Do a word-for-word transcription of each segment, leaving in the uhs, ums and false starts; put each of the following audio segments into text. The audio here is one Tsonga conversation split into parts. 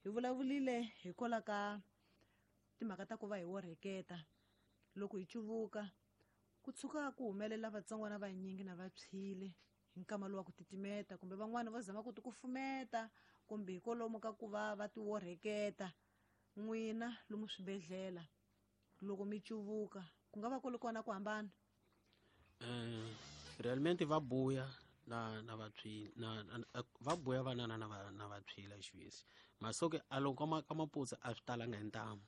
Hi vulavulile hikwalaho ka timhaka ta ku va hi worheketa loko hi cuvuka ku tshuka ku humelela vatsongwana vanyingi na va tshwile hi nkama lowu wa ku titimeta kumbe van'wani va zama ku ti kufumeta kumbe hikwalomu ka ku va va ti worheketa. N'wina lomu swibedhlele loko mi cuvuka ku nga va ku ri kona ku hambana? Eh, realmente va buya na na vatshwile na, na va buya vanana na va na vatshwile xivisi masoke a loko ka ka maputsa a swi talanga hi ntamu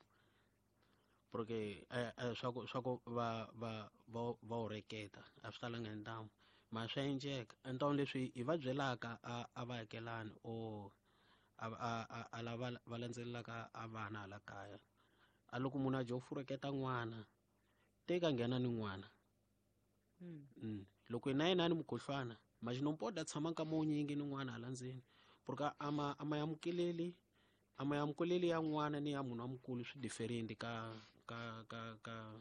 porque eh, eh, swa ku swa ku va va va va oreketa a swi talanga hi ntamu ma swa endleka ntamu leswi hi va byelaka a a va akelani o a a a lava va landzelelaka a vana hala kaya a loko munhu a dya u fureketa n'wana teka nghena ni n'wana. Mm. Mm. Loko na yena ni mukhuhlwana majinopoda tshama nkama wunyingi ni n'wana hala ndzeni porque ama ama yamukeleli ama yamukeleli ya n'wana ni ya munhu wa mukulu swi different ka ka ka ka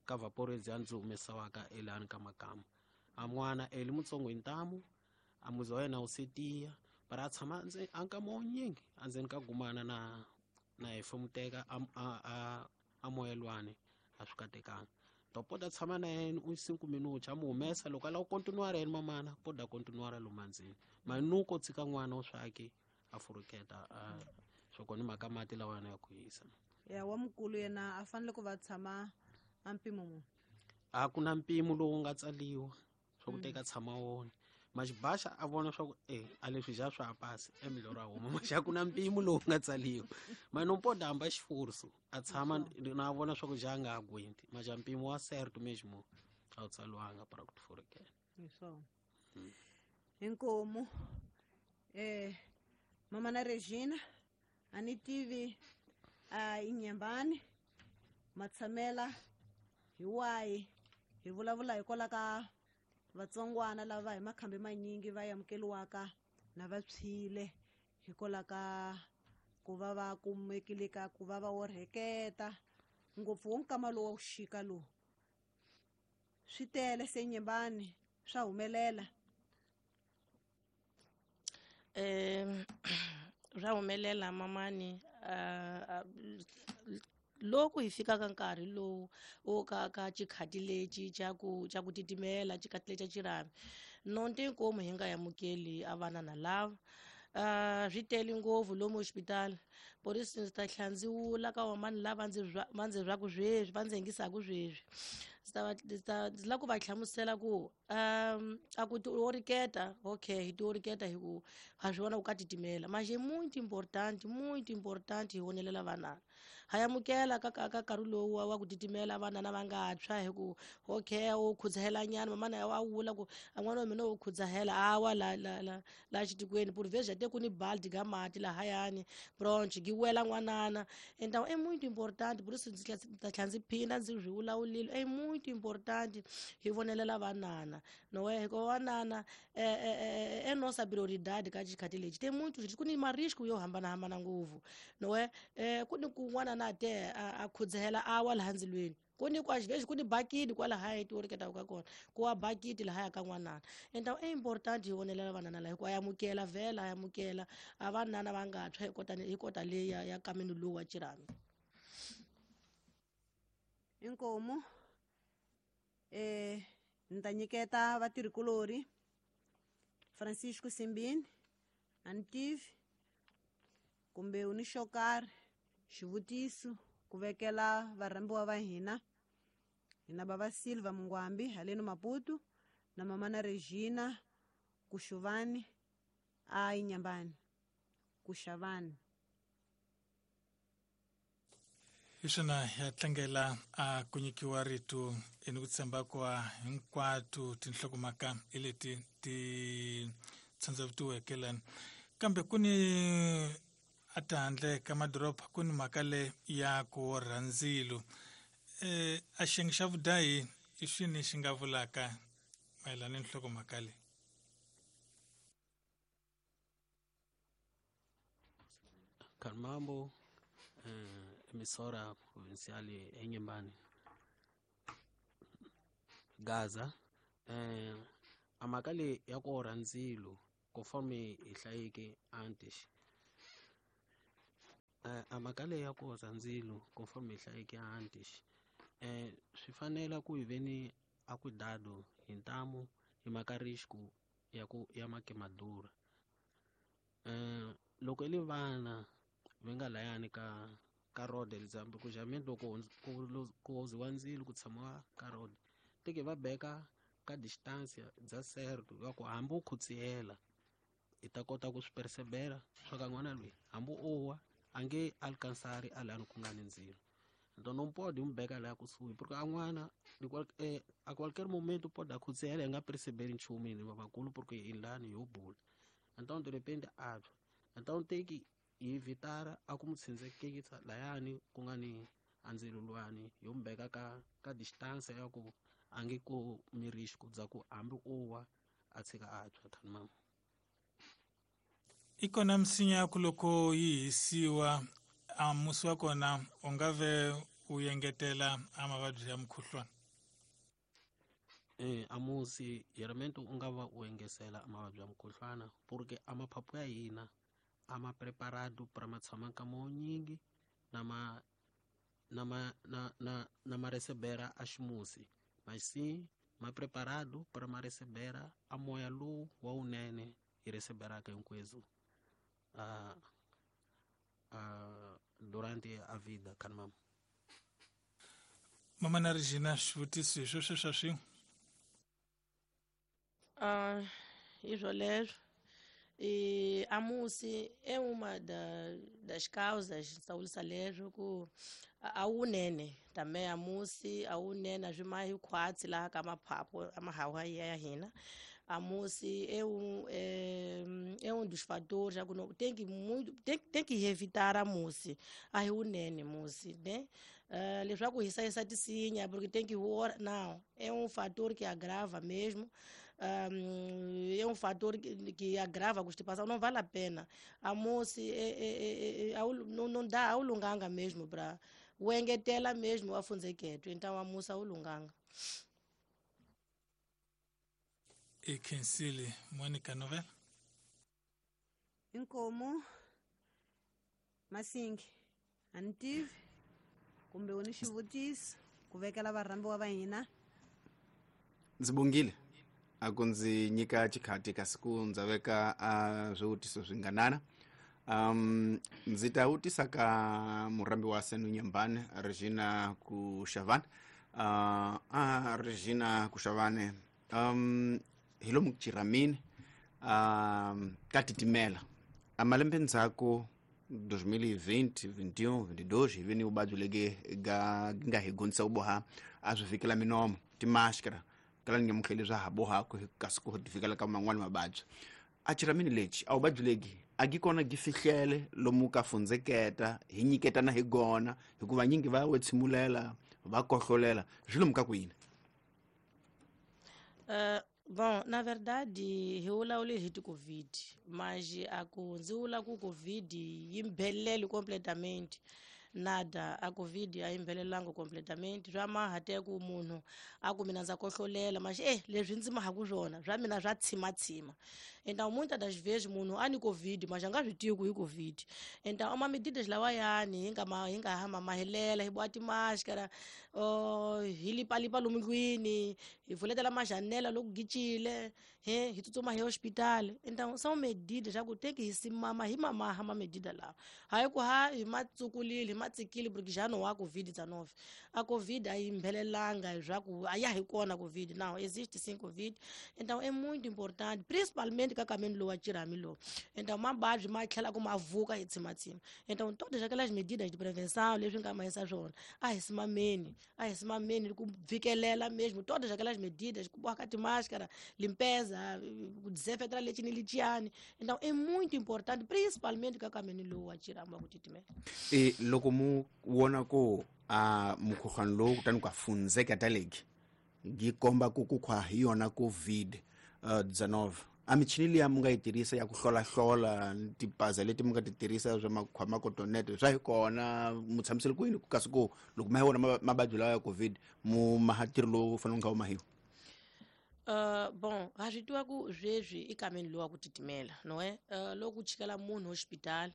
ka vaporezi ya ndzi humesiwaka elani ka makama a n'wana eli mutsongo hi ntamu a muzi wa yena wu setiya bara a tshama a nkama wunyingi endzeni ka gumana na na hefemuteka a a a moyelwani a swi katekanga. Topoda tshama na yena u cinco minutos a mu humesa loko a lava ku continuar yena mamana poda continuar lomu ndzeni manuko tshika n'wana wa swaki a furuketa a swo kona mhaka mati lawa ya ku hisa. Ya wa mukulu yena a fanele ku va tshama a mpimo muni? A ku na mpimo lowu nga tsaliwa swa ku teka tshama wona maxibaxa a vona swa ku eh a leswi ja swa pasi emiloro a huma maxa ku na mpimo lowu nga tsaliwa manopoda hamba xifurso a tshama na vona swa ku ja nga agwenti maxa mpimo wa certo mesmo a wu tsaliwanga para ku tifurekela hi swona. Inkomu eh mama na Regina a ni tivi a inyembani matshamela hi wayi hi vulavula hikwalaho ka vatsongwana lava hi makhambi manyingi va amukeliwaka na va tshwile hikwalaho ka ku va va kumekile ka ku va va orheketa ngopfu wo nkama lowu wa ku xika lowu swi tele se nyembani swa humelela. Eh swa humelela mamani loko hi fika ka nkarhi lowu wo ka ka xikhati lexi xa ku xa ku titimela xikhati lexi xa xirhami nonte inkomu hi nga amukeli a vana na lava uh swi tele ngopfu lomu hospital por isso ndzi ta tlhela ndzi wula ka vamani lava ndzi va ndzi zwaku sweswi va ndzi yingisaka sweswi ndzi ta va ndzi ta ndzi lava ku va hlamusela ku um a ku tioriketa okay hi tioriketa hi ku ha swi vona ku ka titimela manje muito important muito important hi vonelela vanana ha amukela ka ka ka nkarhi lowu wa ku titimela vanana va nga tshwa hi ku okay u khudzahela nyana mamana a wula ku a n'wana wa mina u khudzahela awa la la la la xitikweni por vezes até ku ni balde ga mati lahayani bronch gi wela n'wanana então é muito importante por isso ndzi ta tlhela ndzi phinda ndzi swi vulavulile é muito importante hi vonelela vanana no é hikuva vanana é nossa prioridade ka xikhati lexi tem muito ku ni marisco yo hambanahambana ngopfu no é ku ni kun'wana na te a khudzahela awa laha ndzilweni ku ni kwa xivexi ku ni bakiti kwalahaya tioriketaka ka kona ku wa bakiti lahaya ka n'wanana então é important hi vonelela vanana laha hikuva a amukela vhela a amukela a vanana va nga tshwa hi kota hi kota leyi ya ya kameni lowu wa xirhami. Inkomu eh ni ta nyiketa vatirhikulori Francisco Simbini a ni tivi kumbe u ni xo karhi xivutiso ku vekela varhambiwa va hina hina bava Silva Mungwambi haleno Maputo na mama na Regina Kuxuvani a Inyambani Kuxavani. Hi swona ya tlangela a ku nyikiwa rito ni ku tshemba kwa hinkwato tinhlokomhaka hi leti ti tshandzavutiweke lani kambe ku ni a tihandle ka madoroba ku ni mhaka le ya ku orha ndzilo eh a xiyenge xa vudayi i swini xi nga vulaka mayelana ni nhlokomhaka leyi? Kalmambo eh, emissora provincial eNyembani Gaza eh a mhaka leyi ya ku orha ndzilo conforme hi hlayeke antes A mhaka leyi ya ku oza ndzilo conforme hi hlayeke antes eh swi fanela ku hi veni a cuidado hi ntamu hi mhaka risco ya ku ya makemadura. Eh loko i li vana va nga layani ka ka road example ku jameni loko ku ku oziwa ndzilo ku tshamiwa ka road teke va beka ka distance bya certo ya ku hambi u khutsiyela i ta kota ku swi percebela swa ka n'wana loyi hambi o wa a nge alcansari a lani ku nga ni ndzilo. Então não pode um beka lá kusuhi porque a n'wana eh, a qualquer momento pode akhutsiyela hi nga percebeli nchumu hina vakulu porque hi lani ho bula. Então de repente a tshwa. Então tem que evitar a ku mu tshindzekisa layani ku nga ni a ndzilo luwani yo mu beka ka ka distance ya ku a nge kumi risco bya ku hambi o wa a tshika a tshwa thani mama. I kona misinya ya ku loko yi hisiwa a musi wa kona u nga ve u engetela a mavabyi ya mukhuhlwana? Eh a musi geralmente u nga va u engesela mavabyi ya mukhuhlwana porque a maphaphu ya hina a ma preparado para ma tshama nkama wo nyingi na ma na ma na na na ma recebera a ximusi, mas sim ma preparado para ma recebera a moya lowu wa wunene hi receberaka hinkwethu a a durante a vida kan mama. Mama na Regina, xivutiso hi sweswo swa swin'we? Ah, hi swoleswo. E a musi é uma da, das causas sawulisa leswo ku a wunene também a musi a wunene a swi mahi khwatsi laha ka maphaphu a mahawa ya hina. A musi é um é, é um dos fatores já que não tem que muito tem, tem que evitar a musi a hi wunene musi, né? Uh, leswaku hi hlayisa tisinya porque tem que hora não é um fator que agrava mesmo. Um, é um fator que, que agrava a constipação, não vale a pena. A moça é, é, é, é, não, não dá ao lunganga mesmo para o engetela mesmo a funzeketo, então a moça ao lunganga. E Kensile Mônica Novela? Inkomo Masingi antivi kumbe u ni xivutiso ku vekela varhambiwa va hina? Ndzi bongile a ku ndzi nyika xikhati kasi ku ndza veka a swivutiso swinganana. Um ndzi ta vutisa ka murhambi wa Senu Nyambane Regina Kushavane. Uh, a Regina Kushavane um hi lomu Chiramini um ka titimela a malembe ndzhaku dois mil e vinte, vinte e um, vinte e dois hi veni vuvabyi legi ga nga hi gondzisa ku boha a swi vhikela minomo timáscara kala ni nyamutlheli swa ha bohaku kasi ku tifikela ka man'wani mavabyi. A Chiramini lexi a vuvabyi legi a gi kona gi fihlele lomu ka fundzeketa hi nyiketana hi gona hikuva nyingi va wetsimulela va kohlolela swi lomu ka ku yini? Uh, bom, na verdade hi vulavule hi ti-COVID mas a ku ndzi vula ku COVID yi mbhelele completamente nada. A COVID a yi mbhelelanga completamente swa maha te ku munhu a ku mina ndza kohlolela mas eh leswi ndzi mahaku swona swa mina swa tshimatsima. Então muitas das vezes munhu a ni COVID mas a nga swi tivi ku hi COVID. Então ama medidas lawayani hi nga ma hi nga hama mahelela hi boha timáscara uh, hi lipalipa lomu ndlwini hi pfuletela majanela loko gicile he hi tsutsuma hi hospital. Então são medidas já ku tem que hi simama hi mamaha ma medida lawa hayi ku ha hi ma tsukulile hi ma tsikile porque já não há covid dezenove. A COVID a yi mbhelelanga swa ku a ya hi kona COVID não existe sim COVID. Então é muito importante principalmente ka kameni lowa Chirami lowu. Então mavabyi ma tlhela ku ma vuka hi tshimatsima. Então todas aquelas medidas de prevenção leswi nga mahisa swona a hi simameni a hi simameni ku vikelela mesmo todas aquelas medidas ku boha ka timáscara limpeza ku desinfetar lexi ni lexiyani. Então é muito importante principalmente ka kameni lowu wa Chirami wa ku titimela. E loko mu vona ku a mukhuhlwani lowu kutani ku a fundzeka taleki gi komba ku ku khwa hi yona COVID dezenove a michini liya mu nga yi tirhisa ya ku hlolahlola tipaza leti mu nga ti tirhisa swa makhwama kotonete swa hi kona mu tshamisele kwini kasi ku loko ma hi wona mavabyi lawa ya COVID mu maha ntirho lowu fanele wu nga wu mahiwa? Uh, bon ha swi tiva ku sweswi i kameni lowa ku titimela no eh uh, loko ku chikela munhu hospital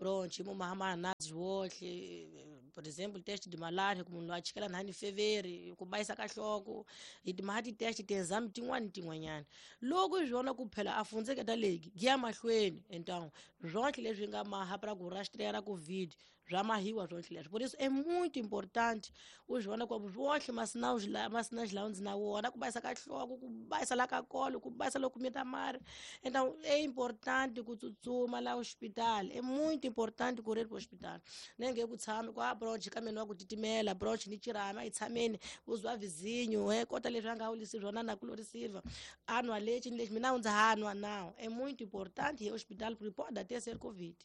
Bronchi mo mahama nazi wohle por exemplo teste de malária ku munhu a chikela nhani feveri ku bayisa ka hloko hi timaha ti-test ti-exam tin'wani tin'wanyana loko hi swona ku phela a fundzeketa legi giya mahlweni então swonhle leswi nga maha para ku rastrear covid swa mahiwa swonhle leswi por isso é muito importante u swi vona ku swohle masinawu masinawu lawa ndzi na wona ku bayisa ka hloko ku bayisa la ka kolo ku bayisa loko mita mari então é importante ku tsutsuma la hospital é muito importante ku ri hospital nenge ku tshami ku a bronch ka mina wa ku titimela bronch ni chirama a yi tshameni u zwa vizinho he kota leswi a nga wulisi swona na ku lorisiva a nwa lexi ni lexi mina ndza ha nwa now é muito importante hi hospital porque pode até ser covid.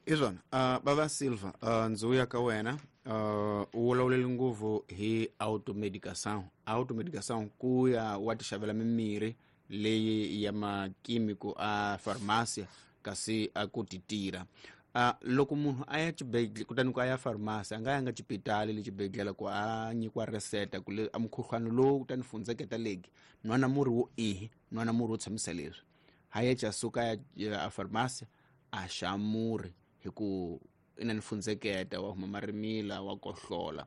Izona uh, baba Silva uh, ndzi ka wena uh, u vulavulele ngopfu hi automedicação automedicação ku ya wa ti xavela mimirhi leyi ya makimiko a farmácia kasi a ku ti tirha uh, loko munhu a ya xibedhlele kutani ku a ya farmasi a nga yanga xipitali le xibedhlele ku a nyikiwa reseta ku le a mukhuhlwani lowu kutani fundzeketa legi nwana murhi wo ihi nwana murhi wo tshamisa leswi ha ya suka ya a farmasi a xa murhi hi ku i na ni fundzeketa wa huma marimila wa kohlola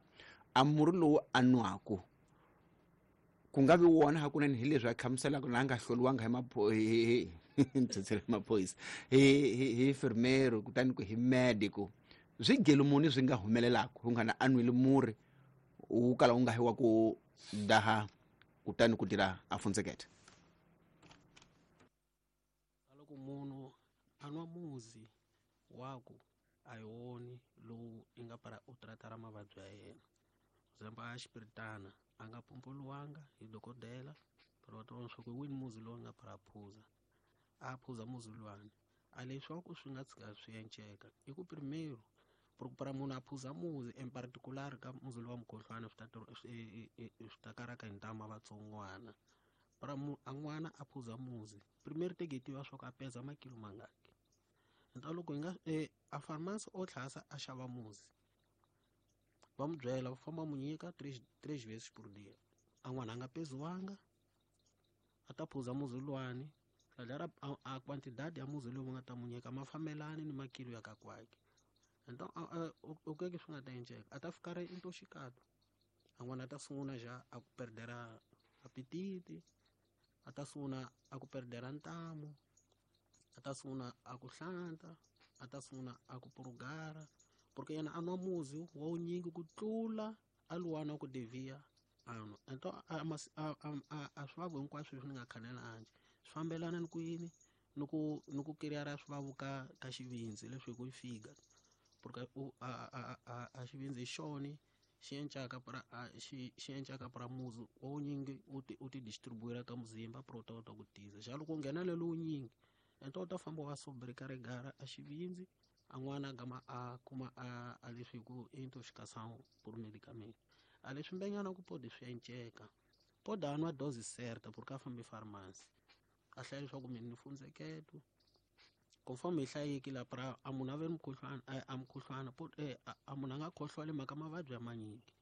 a murhi lowu a nwaku ku nga vi wona hakunene hi leswi a hlamuselaka na a nga hloliwanga hi mapho hi maphorisa hi hi hi enfermeiro kutani ku hi medico swi gelo muni swi nga humelelaka ku nga na a nwile murhi wu kala wu nga hi wa ku daha kutani ku tirha a fundzeketa loko munhu a nwa muzi waku a hi woni lowu i nga para u tratara mavabyi ya yena zemba a xipiritana a nga pompoliwanga hi dokodela pero va tiva swa ku hi wini muzi lowu nga para phuza a phuza muzi luwani a leswaku swi nga tshika swi enceka i ku primeiro porque para munhu a phuza muzi en particular ka muzi lowa mukhuhlwani swi ta swi ta karaka hi ntama vatsongwana para a n'wana a phuza muzi primeiro te ke tiva swa ku a peza makilo mangaki então loko hi nga a farmasi o tlhasa a xava muzi va mu byela va famba mu nyika três três vezes por dia a n'wana a nga peziwanga a ta phuza muzi luwani ladara a quantidade ya muzi lowu va nga ta mu nyika ma fambelani ni makilo ya ka kwake então o que que swi nga ta enceka a ta fika ri intoxicado a n'wana a ta sungula já a ku perdera apetite a ta sungula a ku perdera ntamu a ta sungula a ku hlanta a ta sungula a ku purugara porque yena a nwa muzi wa wunyingi ku tlula a luwana ku devia a nwa então a a a swivavu hinkwaswo leswi ni nga khanela anje swi fambelana ni ku yini ni ku ni ku kiriyara swivavu ka ka xivindzi leswi hi ku yi figa porque u a a a a xivindzi hi xoni xi encaka para xi xi encaka para muzi wa wunyingi u ti u ti distribuira ka muzimba para u ta kota ku tiza xa loko u nghena lelo wunyingi então u ta famba wa sobrecarregara a xivindzi a n'wana gama a kuma a a leswi hi ku intoxicação por medicamento a leswi mbenyana ku pode swi enceka pode a nwa dose certa porque a fambi farmasi a hlaya leswaku mina ni fundzeketo conforme hi hlayeki la para a munhu a ve mukhuhlwana a mukhuhlwana a munhu a nga khohlwali mhaka mavabyi ya manyingi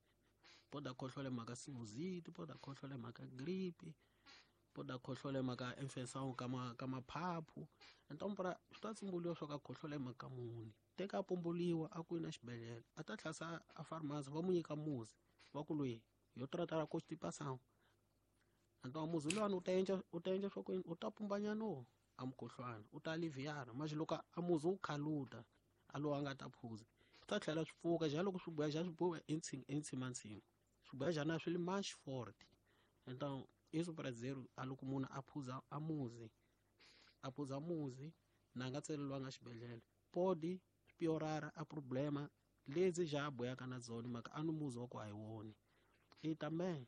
pode a khohlwale mhaka sinusite pode a khohlwale mhaka gripe pode a khohlwale mhaka infection ka ma ka maphaphu então para swi ta tshumbuliwa swa ka khohlwale mhaka muni teka a pumbuliwa a ku na xibedhlele a ta tlhasa a farmasi va mu nyika muzi va ku loyi yo tratara constipação então muzi luwani u ta endla u ta endla swa ku u ta pumbanyana a mukhuhlwana u ta aliviara mas loko a muzi wu khaluta a lowu a nga ta phuza swi ta tlhela swi pfuka ja loko swi boya ja swi boya entsimantsima swi boya jana swi li mais forte então isso para dizer a loko munhu a phuza a muzi a phuza muzi na nga tseleliwanga xibedhlele pode piorara a problema lezi já boyaka na dzona mhaka a ni muzi wa ku a hi woni e também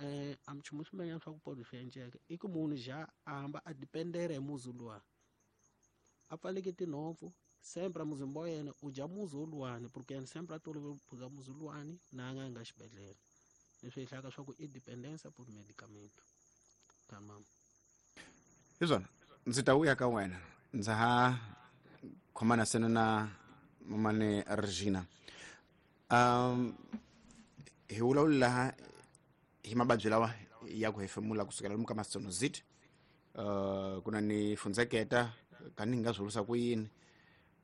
eh a nchumu swimbenyana swa ku pode swi enceka i ku munhu já a hamba a dependera hi muzi luwa a pfaleke tinhompfu sempre a muzimba wa yena u dya muzi woluwani porque yena sempre a tolovele ku phuza muzi luwani na a nga yanga xibedhlele leswi hi hlayaka swa ku i dependência por medicamento tamam hi swona ndzi ta vuya ka wena ndza ha khomana sena na mamane Regina um hi vulavula laha hi mavabyi lawa ya ku hefemula kusukela lomu ka masonozit uh, ku na ni fundzeketa ka ni nga swi vurisa ku yini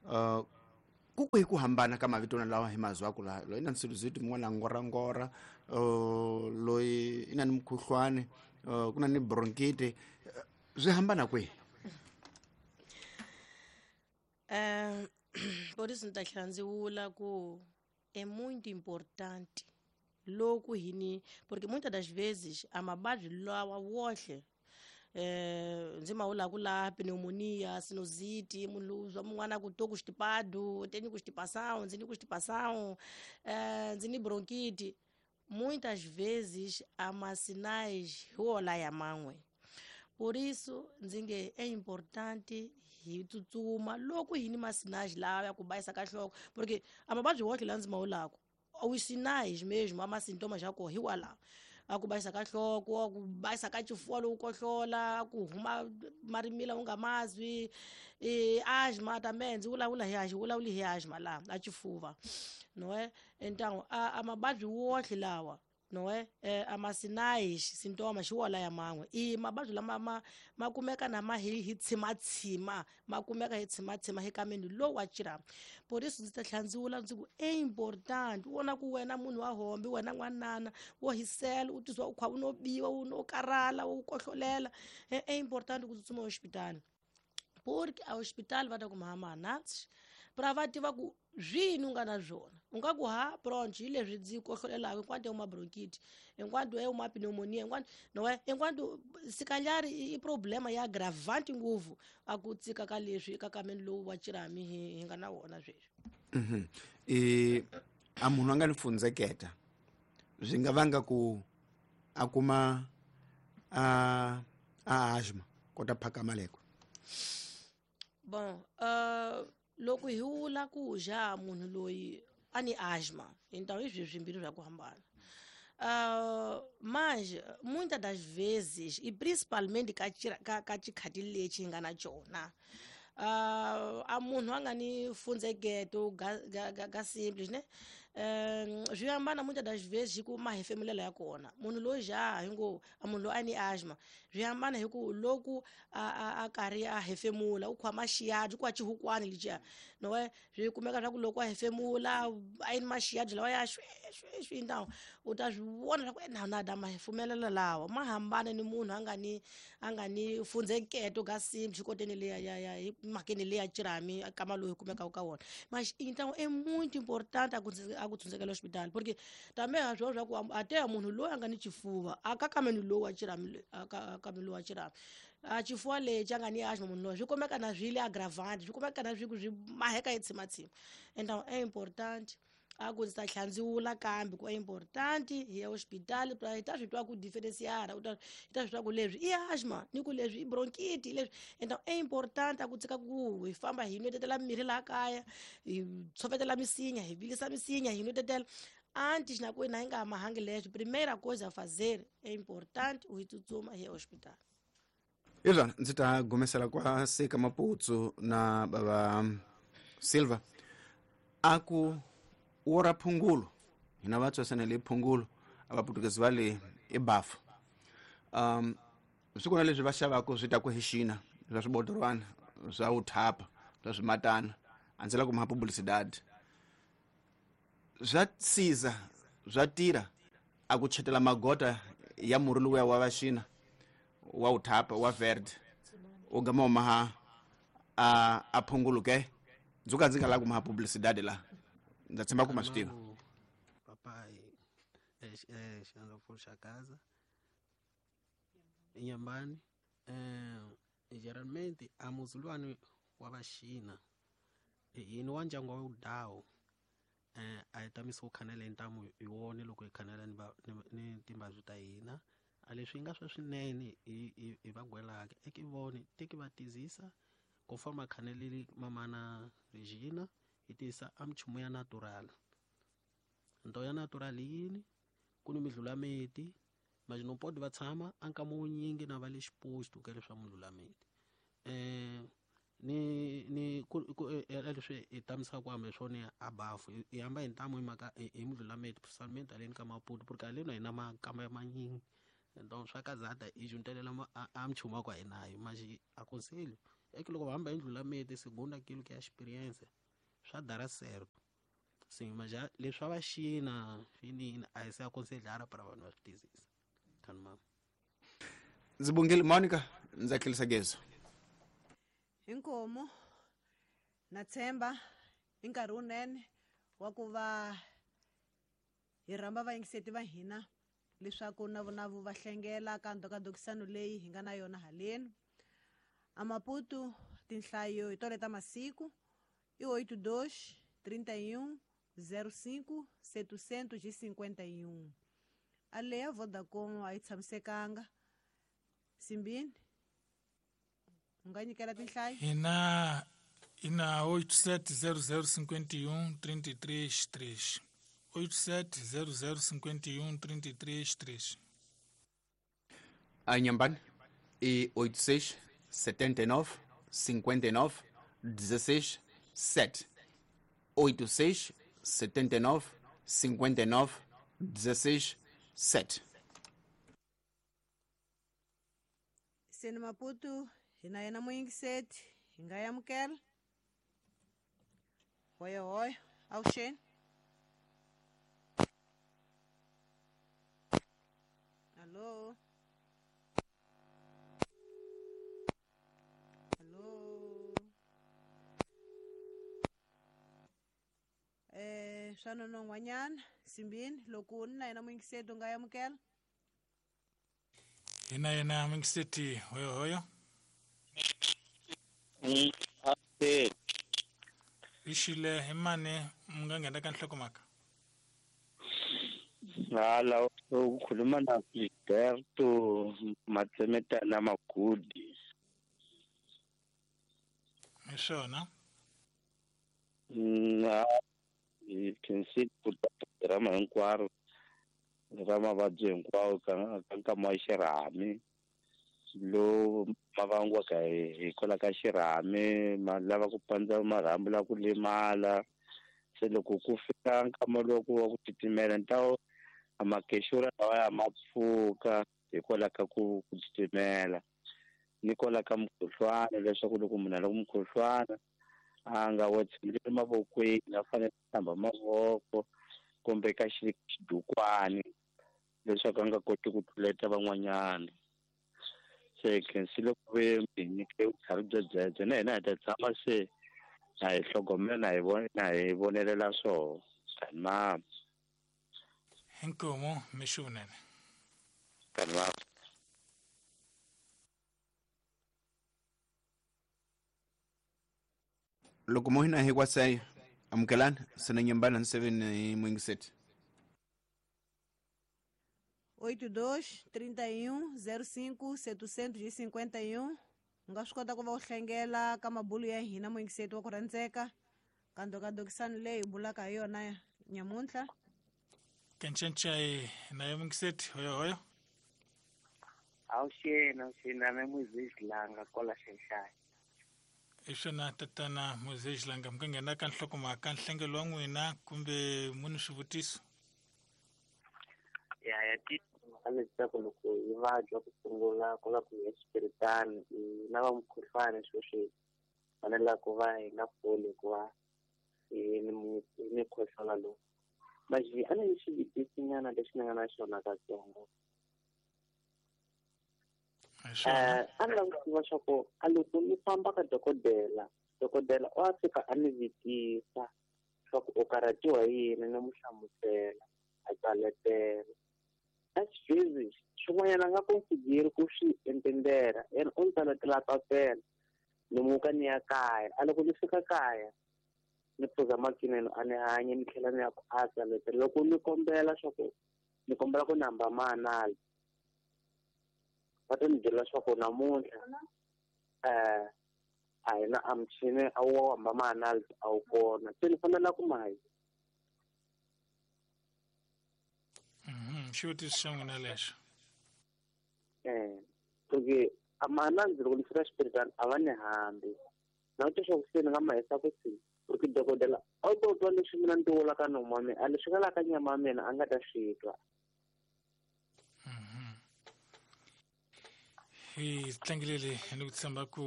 Uh, ku kwihi ku hambana ka mavito lawa hi mazwaku laha loyi na sinusite mun'wana ngorangora uh, loyi i na ni mukhuhlwani uh, ku na ni bronchite swi hambana kwihi? Um, por isso ni ta tlhela ndzi vula ku é muito importante loko hi ni porque muitas das vezes a mavabyi lawa wohle eh ndzi ma vulaku la pneumonia, sinusite, munhu lowu mun'wana ku to constipado, tenho constipação, ndzi ni constipação, eh ndzi ni bronquite. Muitas vezes a masinais hi wola ya man'we. Por isso ndzi nge é importante hi tsutsuma loko hi ni masinais lawa ya ku bayisa ka nhloko, porque a mavabyi wohle lawa ndzi ma vulaku os sinais mesmo, ama sintomas ya koho hi walawo. A ku bayisa ka nhloko, a ku bayisa ka xifuva loko u kohlola, ku huma marimila u nga mazwi, e asma também, ndzi vulavula hi asma, vulavuli hi asma laha a xifuva, não é? Então a, a mavabyi wohle lawa, não é? É, a masinais sintomas hi wona ya man'we. I mavabyi lama ma ma kumeka na ma hi hi tshimatshima, ma kumeka hi tshimatshima hi kameni lowu wa xirhami. Por isso ndzi ta tlhela ndzi vula ndzi ku é importante u vona ku wena munhu wa hombe, wena n'wanana wo hisela, u tizwa u kha u no biwa, u no karhala, u kohlolela, é importante ku tsutsuma hospitali, porque a hospital va ta ku mahama anansi pra va tiva ku swini u nga na swona. U nga ku ha bronch hi leswi ndzi kohlolelaka, enquanto é uma bronquite, enquanto é uma pneumonia, enquanto não é, enquanto se calhar i problema ya agravante ngopfu a ku tsika ka leswi ka kameni lowu wa xirhami hi hi nga na wona sweswi. Mhm. E a munhu a nga ni fundzeketa swi nga vanga ku a kuma a a asthma kota phaka maleko. Bon, uh, loko hi vula ku ja munhu loyi a ni asma, então i swilo swimbirhi swa ku hambana. Uh, mas muitas das vezes e principalmente ka ka ka xikhati lexi hi nga na xona, uh, a munhu a nga ni fundzeketo ga, ga, ga, ga simples, né? Um, swi hambana muitas das vezes hi ku mahefemulelo ya kona. Munhu loyi ja hi ngo a munhu loyi a ni asma, swi hambana hi ku loko a a a karhi a hefemula u khoma xiyadi ku a xihukwani lexiya, não é? Swi kumeka swa ku loko a hefemula a yi ni maxiyadi lawa ya xwe xwe xwe, então u ta swi vona swa ku na na da mahefumelelo lawa ma hambana ni munhu a nga ni a nga ni fundzeketo ga simples xikoteni leya ya ya hi mhakeni leya xirhami kama lowu hi kumekaka ka wona. Mas então é muito importante a ku a ku tshundzekela hospital, porque também a swona swa ku a te munhu loyi a nga ni xifuva a ka kameni lowu wa xirhami, a ka kameni lowu wa xirhami a xifuva lexi a nga ni asma munhu loyi swi kumeka na swi le agravante, swi kumeka na swi ku swi maheka hi tshimatshima. Então é importante a ku ndzi ta tlhela ndzi vula kambe ku é importante hi ya hospital pra hi ta swi twa ku differenciar, u ta hi ta swi twa ku leswi i asma ni ku leswi i bronchite leswi. Então é importante a ku tshika ku hi famba hi nwetetela mirhi laha kaya, hi tshovetela misinya, hi vilisa misinya, hi nwetetela antes na ku hina hi nga mahangi leswi. Primeira coisa a fazer é importante u hi tsutsuma hi ya hospital. Izwa ndzi ta gumesela kwa Seka Maputsu na baba Silva a ku wora phungulo hina vatswasana le phungulo a vaputukezi va le ebafu. Um swi kona leswi va xavaka swi ta ku hi xina swa swibodorwana swa uthapa swa swimatana a ndzi la ku maha publicidade swa siza swa tirha a ku chetela magota ya murhi luya wa vaxina wa uthapa wa verde u gama maha a a phungulo ke ndzi ka ndzi nga lavi ku maha publicidade la ndza tshemba ku ma swi tiva. Papai eh xandla Shakaza Inyambani eh geralmente a muzulwani wa vaxina yini wa ndyangu wa Udawu eh a hi tamisi ku khanela ntamu hi wona loko hi khanela ni ni timbabyi ta hina a leswi nga swa swinene hi hi va gwelaka eke vone teki va tizisa conforme a khaneleli mamana Regina hi tisa a minchumu ya natural. Nto ya natural yini ku ni midlulameti mas não pode va tshama a nkama wunyingi na va le xiposto ka leswa midlulameti eh ni ni ku leswi hi tamisaka ku hambe swona a bafu hi hamba hi ntamu hi mhaka hi midlulameti principalmente haleni ka Maputo porque haleni a hi na makamba manyingi então swa kazata hi juntelela a minchumu ya ku a hi nayo mas aconselho É que loko va hamba Indlulamithi segundo aquilo que é a experiência swa dar certo. Sim, mas já leswi va Xina finini a hi se aconselhar para vanhu va swi twisisa. Tani mama. Ndzi bongile Monica, ndza tlherisa gezo. Inkomo na tshemba i nkarhi wunene wa ku va hi rhamba vayingiseti va hina leswaku na vona vo va hlengela ka ndhokadokisano leyi hi nga na yona haleni. A Maputo tinhlayo hi tole ta masiku i oito dois, trinta e um, zero cinco, setecentos e cinquenta e um. A leyi ya Vodacom a yi tshamisekanga. Simbini, u nga nyikela tinhlayo? Hina ina oito sete zero zero cinquenta e um trinta e três três. oito sete zero zero cinquenta e um trinta e três três. A Inhambane e oito seis setenta e nove cinquenta e nove dezesseis sete. oito seis setenta e nove cinquenta e nove dezesseis sete. Seni Maputo hina yena muyingiseti hi nga amukela. Hoya hoya, avuxeni. Alô? Alô? Eh, swa nonon'hwanyana Simbini loko ni na yena muyingiseti u nga amukela. Hina yena muyingiseti hoyo hoyo. Ixile hi mani mi nga nghena ka nhlokomhaka? Hala u khuluma na Gilberto Matsemetana Magudi. Hi swona. Na hi khensile ku drama hinkwaro ra mavabyi hinkwawo ka ka nkama wa xirhami lowu ma vangiwaka hikwalaho ka xirhami ma lava ku pandza marhambu la ku lemala. Se loko ku fika nkama lowu wa ku titimela ni ta a makexura lawa ya ma pfuka hikwalaho ka ku ku titimela ni kwalaho ka mukhuhlwana leswaku loko munhu a lava mukhuhlwana a nga wa tshembeli mavokweni a fanele a hlamba mavoko kumbe ka xidukwani leswaku a nga koti ku tluleta van'wanyana. Se khensile ku ve mi nyike vutlhari bya byebyo na hina hi ta tshama se na hi hlogomela na hi vona na hi vonelela swoho. Tani mama. Inkomo mixo vunene. Tani mama. Loko mo hina hi kwasaya amukelani sena nyambana nseveni hi muyingiseti. oito dois, trinta e um, zero cinco, setecentos e cinquenta e um. U nga swi kota ku va u hlengela ka mabulu ya hina muyingiseti wa ku rhandzeka ka ndhokadokisano leyi hi bulaka hi yona nyamuntlha. Kencencai na ye muyingiseti hoyo hoyo. Avuxeni, avuxeni na Moises Langa kwala Xaxai. Hi swona tatana Moises Langa mi nga nghena ka nhlokomhaka nhlengelo wa n'wina kumbe mu ni swivutiso? Ya ya timhaka leti ta ku loko hi vabya ku sungula ku la ku ya xipiritani hi na va mukhuhlwani swilo swi fanela ku va hi nga pfuli hikuva hi ni mukhuhlwana lowu. Manje a ni xivutisinyana lexi ni nga na xona katsongo. Eh, a ni lava ku tiva swa ku a loko ni famba ka dokodela, dokodela u a fika a ni vutisa swa ku u karhatiwa hi yini ni mu hlamusela a tsaletela. A xivezi swin'wanyana a nga consideri ku swi entendera yena u ni tsaletela papela ni muka ni ya kaya. A loko ni fika kaya ni phuza makinene a ni hanya ni tlhela ni ya ku a tsaletela. Loko ni kombela swa ku ni kombela ku ni hamba maanali va ta ni byela swa ku namuntlha um a hi na a muchini a wu hamba maanali a wu kona se ni fanela ku mahi. Xivutiso xa n'wina lexo. Eh, porque a maanali loko ni fika xipiritani a va ni hambi na ku twa swa ku se ni nga ma hisa ku si porque dokodela a wu to twa leswi mina ni ti vulaka nomu wa mina a leswi nga la ka nyama ya mina a nga ta swi twa. Hi tlangelele ni ku tshemba ku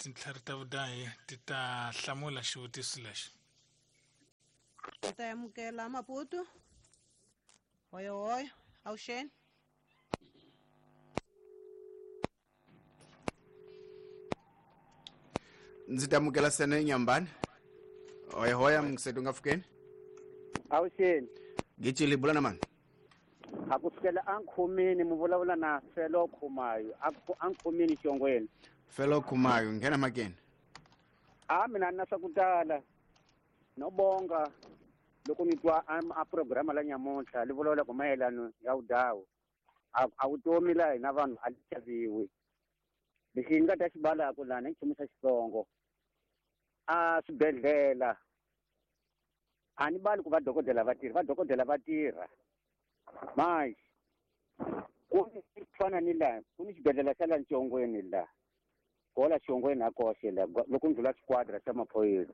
tintlhari ta vudahi ti ta hlamula xivutiso lexi. Hi ta amukela Maputo. Hoyo hoyo, avuxeni. Ndzi ta amukela Sene Nyambani. Hoya hoya msetu nga fukeni. Avuxeni. Gicili bula na mani. A ku sukela ankhomeni mu vulavula na Felo Khumayo, a ankhomeni xongweni. Felo Khumayo nghena makeni. A mina na swa ku tala. No bonga loko ni twa a program la nyamuntlha li vulavula ku mayelano ya vudawu. A vutomi la hina vanhu a li xaviwi. Lexi ni nga ta xi balaka lana i nchumu xa Xitsongo. A swibedhlele a ni bali ku va dokodela va tirha, va dokodela va tirha. Manje ku fana ni la ku ni xibedhlele xa la Ntshongweni la kola Xongweni a koxe la loko ndlula xiquadra xa maphorisa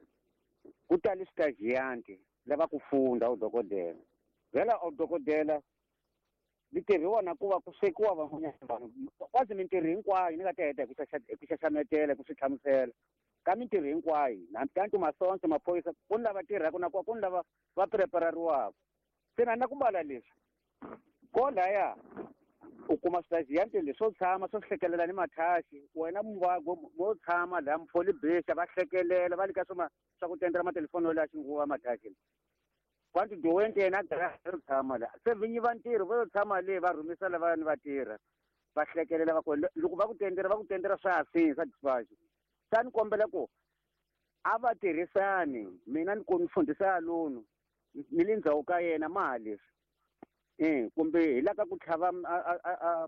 ku tali switajiyanti lava ku funda udokodela. Vhela udokodela li tirhiwa na ku va ku swekiwa van'wanyana vanhu kwazi mintirho hinkwayo ni nga ta heta hi ku xaxametela ku swi hlamusela ka mintirho hinkwayo hambi kanti masonto maphorisa ku ni lava tirhaka na ku ni lava va preparariwaka. Se na na ku bala leswi ko laya u kuma switajiyanti leswo tshama swo hlekelela ni mathaxi wena muvabyi mo tshama laha mufoli bixa va hlekelela va le ka swo swa ku tendela matelefoni yo la xinguva mathaxi kwanti diwente yena a ri tshama la se vinyi va ntirho va yo tshama le va rhumisa lava ni va tirha va hlekelela va ku loko va ku tendela va ku tendela swa ha sini swa dispatch. Sa ni kombela ku a va tirhisani mina ni ku ni fundhisa lonu ni le ndzhaku ka yena ma ha leswi eh kumbe hi la ka ku tlhava a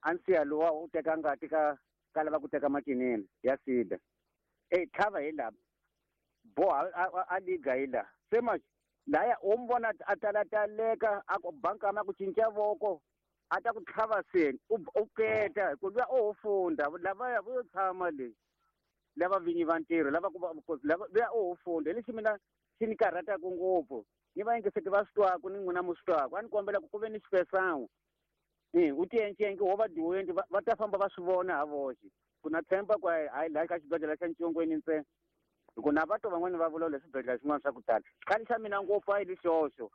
a nsiya lowa u teka ngati ka ka lava ku teka macinini ya sida eh tlhava hi la boha a liga hi la se ma laya u mi vona a talataleka a ku bankama ku cinca voko a ta ku tlhava seni u keta hi ku luya o ho funda lavaya vo yo tshama le lava vinyi va ntirho lava ku lava luya o ho funda hi lexi mina xi ni karhataka ngopfu ni va yingiseti va swi twaku ni n'wina mu swi twaku a ni kombela ku ku ve ni xipesan'we e u tiencenke wo va diwenti va ta famba va swi vona ha voxe ku na tshemba ku hayi laha ka xibedhlele xa Ntshongweni ntsena hi ku na vato van'wani va vulavula swibedhlele swin'wana swa ku tala. Xikhale xa mina ngopfu a yi lexoxo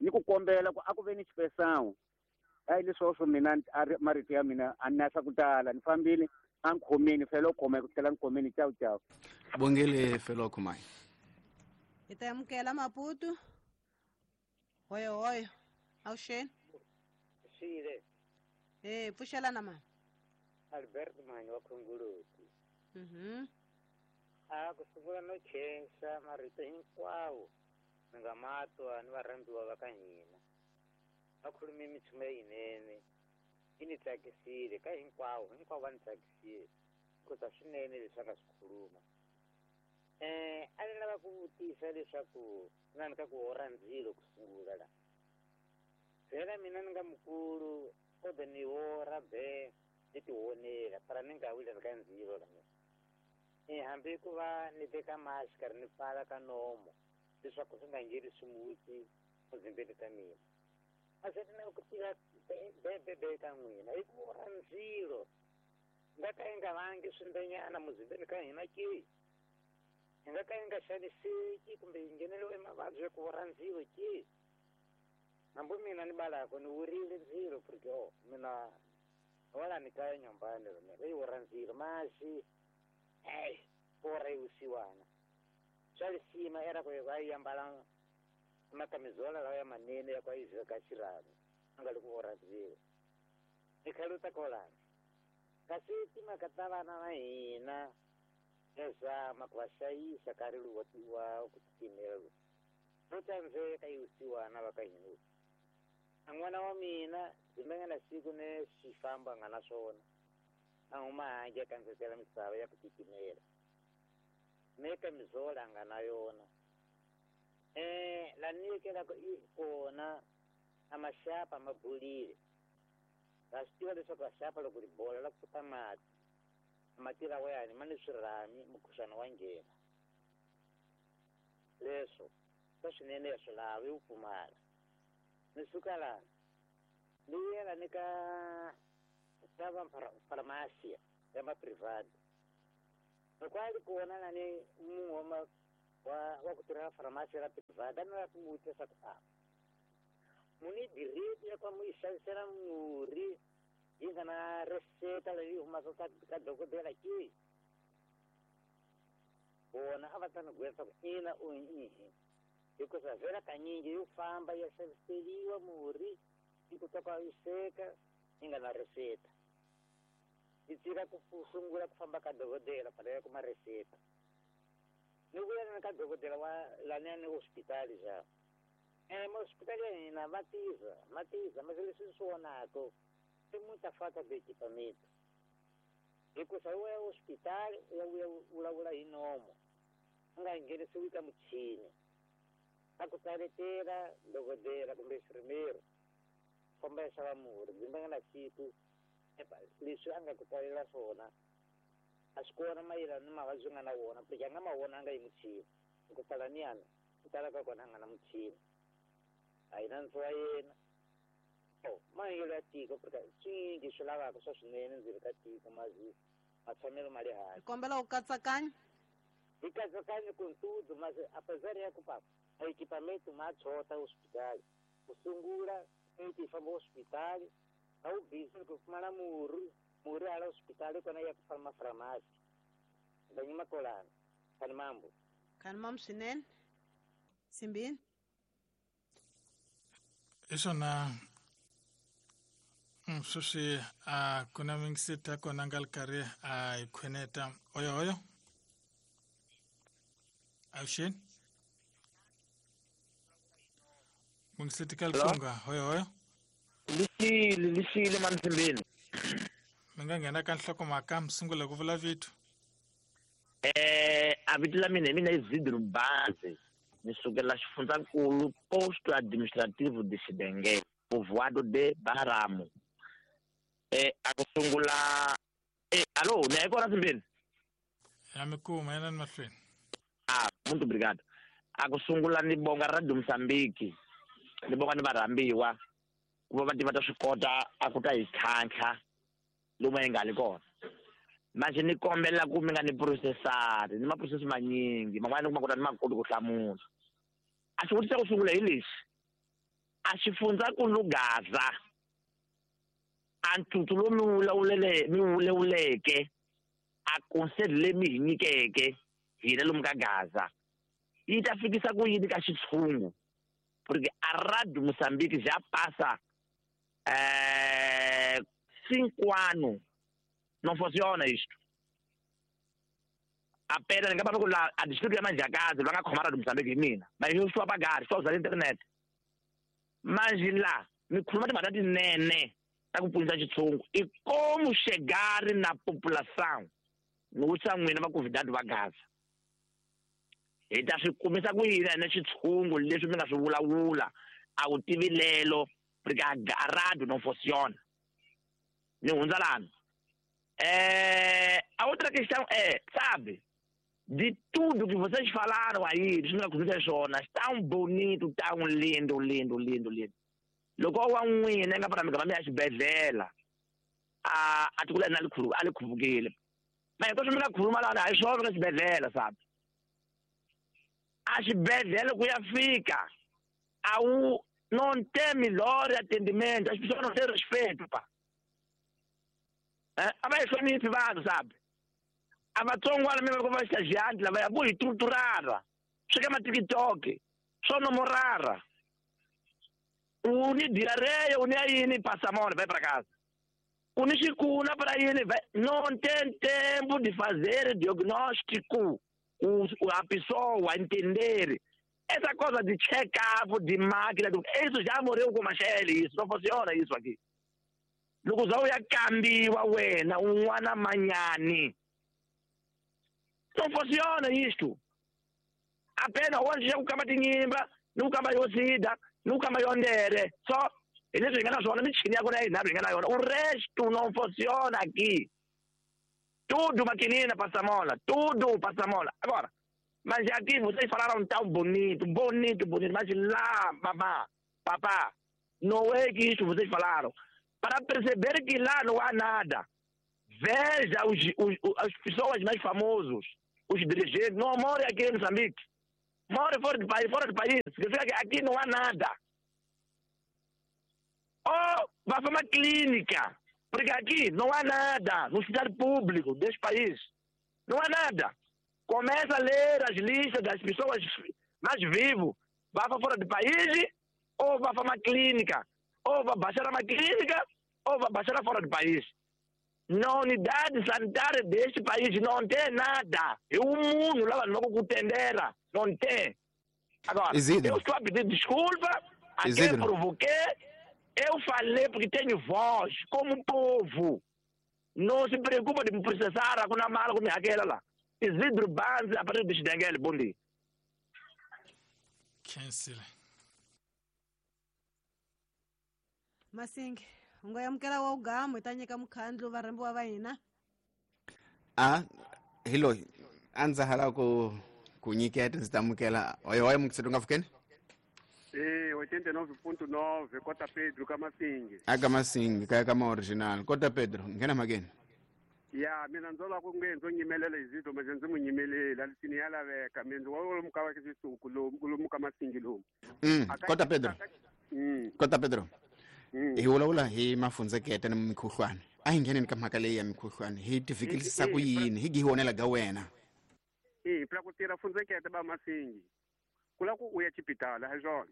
ni ku kombela ku a ku ve ni xipesan'we a yi leswoxo mina a ri marito ya mina a ni na swa ku tala ni fambile a nkhomeni Felo Khumayo ku tlhela nkhomeni cawu cawu. Bongele Felo Khumayo. Hi ta amukela Maputo. Hoyo hoyo, avuxeni. Xile. Eh, pfuxelana mama. Albert Manyi wa Khongoloti. Mhm. A ku sungula no khensa marito hinkwawo ni nga ma twa ni varhambiwa va ka hina. Va khulume minchumu leyinene yi ni tsakisile ka hinkwavo hinkwavo va ni tsakisile khuza swinene leswi a nga swi khuluma. Eh a ni lava ku vutisa leswaku na ni ka ku orha ndzilo ku sungula la vhela mina ni nga mukulu kode ni orha be ni tionela para ni nga wile ka ndzilo la mina eh hambi ku va ni teka mask ri ni pfala ka nomo leswaku swi nga ngheni swimuti muzimbeni ta mina. A se ni ku tiva be be be ka n'wina hi ku orha ndzilo nga ka yi nga vangi swimbenyana muzimbeni ka hina ke hi nga ka yi nga xaniseki kumbe yi ngheneliwe mavabyi ya ku orha ndzilo ke hambi mina ni balako ni wurile ndzilo porque o mina wala ni kaya nyumbani mina leyi orha ndzilo masi hey orha yi vusiwana swa lisima era ku va yi ambala makamizola lawa ya manene ya ku yi veka xirhami a nga le ku orha ndzilo ni khaluta kolani kasi timhaka ta vana va hina ya zama ku va hlayisa nkarhi lowu wa wa ku titimela lowu ro tsandzeka yi vusiwana va ka hina. A n'wana wa mina ndzi nga na siku ni xifambo a nga na swona a huma handle a kandzetela misava ya ku titimela me kamizola a nga na yona eh la ni yekelaka i kona a maxapa ma bolile va swi tiva leswaku vaxapa loko ri bola la ku ta mati mati lawa yani ma ni swirhami mukhuhlwana wa nghena leswo swa swinene ya swi lavi wu pfumala. Ni suka laha ni yela ni ka ka va farmasiya ya ma private Loko a ri kona lani munhu wa wa wa ku tirhela farmasi ra private a ni lava ku n'wi vutisa ku a muni direct ya ku mu yi xavisela murhi yi nga na reseta leyi humaka ka ka dokodela ke vona a va ta ni gwetsa ku ina o ihi hikuva vhela kanyingi yo famba ya xaviseriwa murhi yi kota ku yi yi nga na reseta yi tshika ku sungula ku famba ka dokodela pala ya kuma reseta ni vuya na ka dokodela wa laniani hospitali xa eh hospitali ya hina va tiza ma tiza mas leswi swi vonaka i muita falta de equipamento hikuva u ya hospitali u ya vuya vulavula hi nomo u nga nghenisiwi ka muchini a ku tsaletela dokodela kumbe xirimeri famba ya xava murhi byi nga na siku leswi a nga ku tsalela swona a swi kona mayelana ni mavabyi nga na wona porque a nga ma vonanga hi muchini ku tala niyani ku tala ka kona a nga na muchini a hi na nandzu wa yena o mahanyelo ya tiko porque swingi swi lavaka swa swinene ndzeni ka tiko mazi matshamelo ma le hansi hi kombela u katsakanya hi katsakanya ku ntudu mas apesar ya ku papa a equipamento ma tshota hospitali ku sungula eti famba hospitali a wu busy ku pfumala murhi murhi hala hospitali kona ya ku famba farmasi ndanyima kolana khani mambo khani mambo swinene simbini hi swona sweswi a ku na mingiseta kona nga ri karhi a hi khweneta oyo oyo avuxeni mungiseti ka lifunga hoyo hoyo lixile lixile mansimbeni mi nga nghena ka nhlokomhaka mi sungula ku vula vito eh a vito la mina hi mina i Zidro Bazi ni sukela xifundzankulu posto administrativo de Xidenge povoado de Baramo eh a ku sungula eh alo ni ya kona simbeni ya mi kuma yena ni mahlweni ah muito obrigado a ku sungula ni bonga Radio Mozambique ni bonga ni varhambiwa ku va va tiva ta swi kota a ku ta hi tlhantlha lomu hi nga li kona manje ni kombela ku mi nga ni processari ni ma-process manyingi man'wana ni kuma ku ta ni ma koti ku hlamula a xivutiso xa ku sungula hi lexi a xifundzankulu Gaza a ntuthu lowu mi vulavulele mi vulavuleke a conselho leyi mi hi nyikeke hina lomu ka Gaza yi ta fikisa ku yini ka xitshungu porque a Radio Moçambique já passa eh, cinco anos não funciona isto apenas ni nga va ku la a distrito ya Manjakazi va nga khoma Radio Moçambique hi mina mas eu estou a pagar estou a usar a internet mas lá mi khuluma timhaka tinene ta ku pfunisa xitshungu i como chegar na população ni vutisa n'wina vaconvidado va Gaza hi ta swi kumisa ku yini ene xitshungu leswi mi nga swi vulavula a wu tivi lelo porque a radio não funciona ni hundza lani eh a outra questão é sabe de tudo que vocês falaram aí leswi mi nga khulumisa swona tão bonito tão lindo lindo lindo lindo loko wa n'wina nga fana mi gama mi ya xibedhlele a a tiko la li a li khuvukile ma hinkwaswo mi nga khuluma lani a hi swona ka xibedhlele sabe a xibedhlele ku ya fika a wu não tem melhor atendimento as pessoas não têm respeito pa eh a va hi hloniphi vanhu sabe a vatsongwana mi va va estagiante lava ya vo hi torturara swi ka ma-TikTok swo nomorara u ni diarreia u ni ya yini passa mal vai para casa u ni xikuna para yini vai não tem tempo de fazer diagnóstico o, a pessoa entender essa coisa de check-up de máquina isso já morreu com Machele isso não funciona isso aqui loko za u ya kambiwa wena un'wana manyani não funciona isto apenas onde já ku kamba tinyimba ni ku kamba yo sida ni ku kamba yo ndere só hi leswi hi nga na swona michini ya kona ya yinharhu hi nga na yona o resto não funciona aqui tudo maquinina passa mola tudo passa mola agora mas aqui vocês falaram tão bonito bonito bonito mas lá mamá papá não é que isso vocês falaram para perceber que lá não há nada Veja os, os, as pessoas mais famosas, os dirigentes, não moram aqui em Moçambique. Moram fora do país, fora do país. Significa que aqui não há nada. Ou vá para uma clínica, porque aqui não há nada, no hospital público deste país. Não há nada. Começa a ler as listas das pessoas mais vivas. Vá para fora do país, ou vá para uma clínica. Ou vá baixar uma clínica, ou vá baixar fora do país. Na unidade sanitária deste país não tem nada. E o mundo lá não contendera. Não tem. Agora, Isidro. Eu estou a pedir desculpa a Isidro. Quem provoquei. Eu falei porque tenho voz, como povo. Não se preocupa de me processar com a mala, com aquela lá. Isidro Banzi, a partir de Xidengele, bom dia. Cancel. Masingi, ungoyamukela wa ugamu itanyika mukhandlu varhambiwa va hina. Ah, hello. Andza hala ku ku nyiketa ndzi tamukela. Oyo oyo mukitseto nga fukeni? Eh, oitenta e nove ponto nove, Cota Pedro Kamasingi. Aka Masingi, kaya kama original. Cota Pedro, ngena mageni. Ya, mina nzola ku ngenzo nyimelela izito manje ndzi munyimelela lisini ya laveka mina wa muka wa xisuku lo lo muka Masingi lo. Mm, Cota Pedro. Mm. Cota Pedro. Mm. Hi vulavula hi mafundzekete ni mikhuhlwani. A hi ngheneni ka mhaka leyi ya mikhuhlwani hi tifikisisa ku yini hi gihonela ga wena. Eh, pra ku tirha fundzekete ba Masingi. Kula ku uya xipitala ha swona.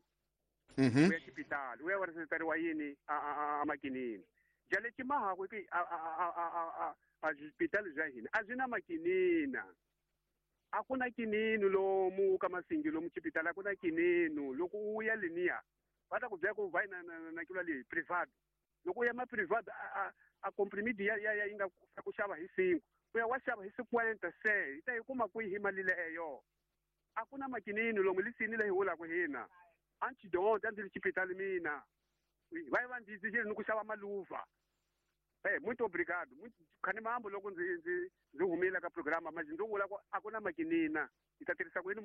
Mhm. Uya xipitala, uya wa yini a a a makinini. Jale ximaha ku a a a a a xipitala bya hina a byi na makinina. A ku na kinini lomu ka Masingi lomu xipitala a ku na kinini loko u ya leniya va ta ku byela ku va na na na kula leyi private. Loko u ya ma private a a comprimido ya ya yi nga ku xava hi cinco. U ya wa xava hi cinquenta se yi ta yi kuma kwihi mali leyo. A ku na makinini lomu lisini leyi holaka hina. Antidote a ndzi ri xipitali mina. Va va ndzi ndzi ni ku xava maluva. Eh, muito obrigado. Muito khani mambo loko ndzi ndzi ndzi humile ka programa manje ndzi vula ku a ku na makinina. Hi ta tirhisa ku yini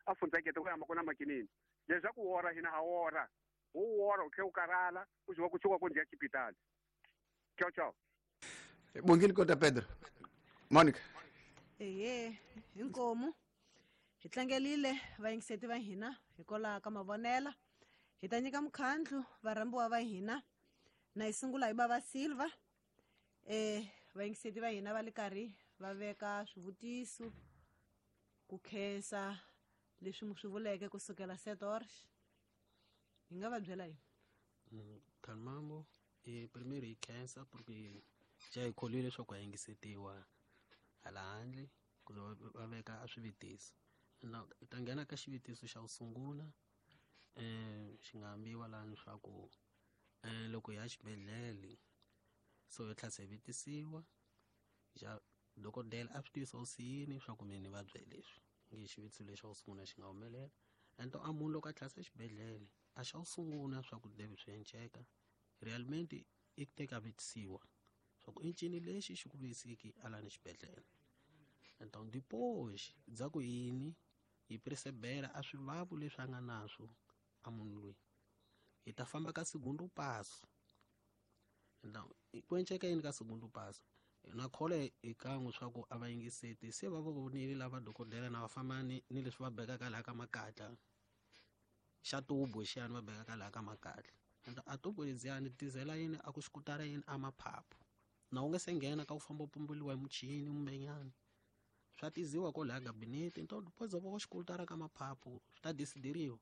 a fundzekete ku ya ma ku na makinini. Leswaku wora hina ha wora. Wu wora u tlhe u karhala u ziwa ku tshuka ku ndzi ya xipitali. Tchau tchau. Bongile Cota Pedro. Monica. Ehe, inkomu. Hi tlangelile vayingiseti va hina hikwalaho ka mavonela. Hi ta nyika mukhandlu varhambiwa va hina. Na hi sungula hi Bava Silva. Eh, vayingiseti va hina va le karhi va veka swivutiso ku khensa leswi mu swi vuleke kusukela sete horas. Hi nga va byela yini? Khalmambo, eh primeiro hi khensa porque ja hi kholwile leswaku ha yingisetiwa hala handle ku va veka a swivutiso. Na hi ta nghena ka xivutiso xa ku sungula eh xi nga ambiwa laha leswaku eh loko hi ya xibedhlele so hi tlhela se vutisiwa xa dokodela a swi tivisa u si yini leswaku mina ni vabya leswi nge xivutiso lexi xa ku sungula xi nga humelela. Ento a munhu loko a tlhela se xibedhlele a xa ku sungula swa ku deve swi enceka realmente i ku teka vutisiwa swa ku i ncini lexi xi ku vuyisiki a lani xibedhlele. Então depois bya ku yini hi percebera a swivavu leswi a nga naswo a munhu loyi hi ta famba ka segundo passo. Então ku enceka yini ka segundo passo na khola hi kan'we swa ku a va yingiseti se va vonile lava dokodela na va famba ni ni leswi va bekaka laha ka makatla xa tubu xiyani va bekaka laha ka makatla. Ento a tubu ledziyani tizela yini a ku xikutara yini a maphaphu na u nge se nghena ka ku famba u pumbuliwa hi muchini kumbenyana swa tiziwa ko laha gabinete. Então depois va ku xikutara ka maphaphu swi ta desideriwa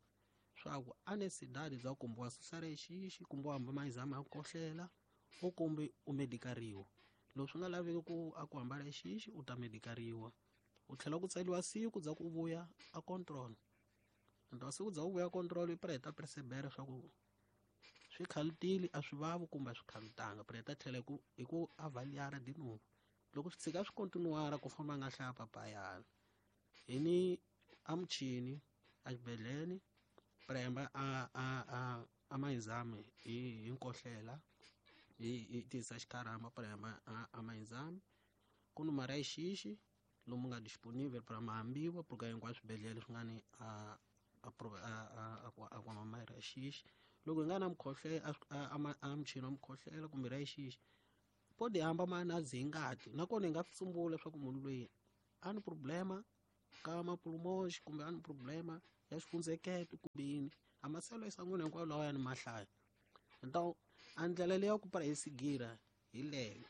swa ku a nesidadi bya kumbe wa susa rexixi kumbe wa hamba mayizama ya ku kohlela u kumbe u medikariwa. Loko swi nga laveki ku a ku hambana xixi u ta medikariwa u tlhela ku tsaliwa siku bya ku vuya a control. Ento siku bya ku vuya control i preta percebera swa ku swi khalutile a swi vavi kumbe a swi khalutanga preta tlhela ku hi ku avaliara de novo. Loko swi tshika swi continuara ku famba nga hlaya papayana hi ni a muchini a xibedhlele premba a a a a mayizame hi hi nkohlela hi hi tisa xikarhama premba a a mayizame ku ni mara xixi lomu nga disponible para mahambiwa porque hinkwaswo swibedhlele swi nga ni a a a a kuma mara xixi. Loko hi nga na mukhohlela a a muchini wa mukhohlela kumbe ra xixi pode hamba ma-analysis hi ngati nakona hi nga swi tsumbula leswaku munhu loyi a ni problema ka mapulmox kumbe a ni problema ya xifundzheketo kumbe yini a maselo ya san'wini hinkwayo lawa ya ni mahlaya. Então a ndlela leyi ya ku para hi sigira hi leyo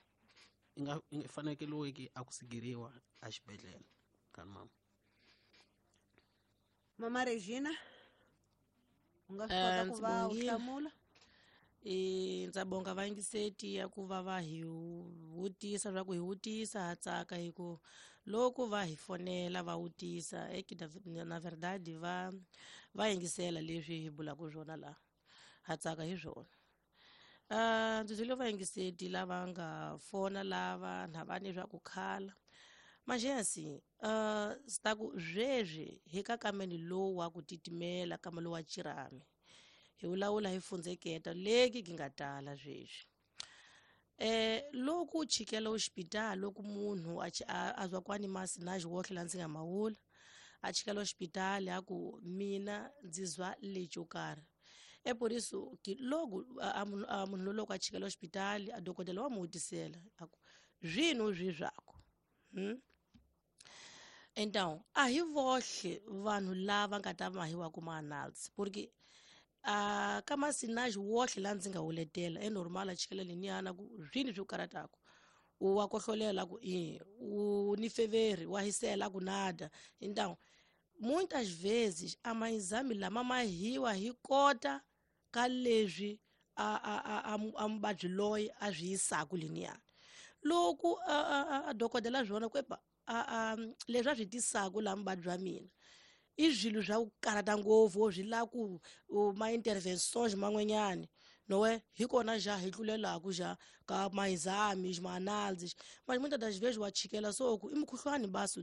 i nga i fanekeliweke a ku sigiriwa a xibedhlele kani mama. Mama Regina, u nga swi kota ku va u hlamula? E ndza bonga vayingiseti ya ku va va hi vutisa swa ku hi vutisa ha tsaka hi ku loko va hi fonela va vutisa eki na verdade va va yingisela leswi hi bulaka swona laha ha tsaka hi swona. Uh, ndzi byele vayingiseti lava nga fona lava na va ni swa ku khala manjesi uh, swi ku sweswi hi ka kameni lowu wa ku titimela kama lowu wa chirami hi vulavula hi fundzeketa leki ki nga tala sweswi. Eh loko u chikela hospital loko munhu a a zwa kwani masi na xiwohle la ndzi nga mawula a chikela hospital a ku mina ndzi zwa lexo karhi e por isso que logo a munhu loko a chikela hospital a dokodela wa mu vutisela a ku zwino zwi zwako hmm? Então a hi vohle vanhu lava nga ta mahiwa ku ma-analysis porque a ka masinage wohle la ndzi nga wuletela e normal a chikela leniyana ku zwini swi ku karhataka u wa kohlolela ku i u ni feveri wa hisela ku nada. Então muitas vezes a maexame lama mahiwa hi kota ka leswi a a a a muvabyi loyi a swi yisaka leniyana loko a dokodela swona ku epa a a leswi a swi tisaka laha muvabyi wa mina i swilo swa ku karhata ngopfu swi lava ku ma-interventions man'wanyani noe hi kona ja hi tlulelaku ja ka ma-exames ma-analysis mas muitas das vezes wa chikela so ku i mukhuhlwani basi u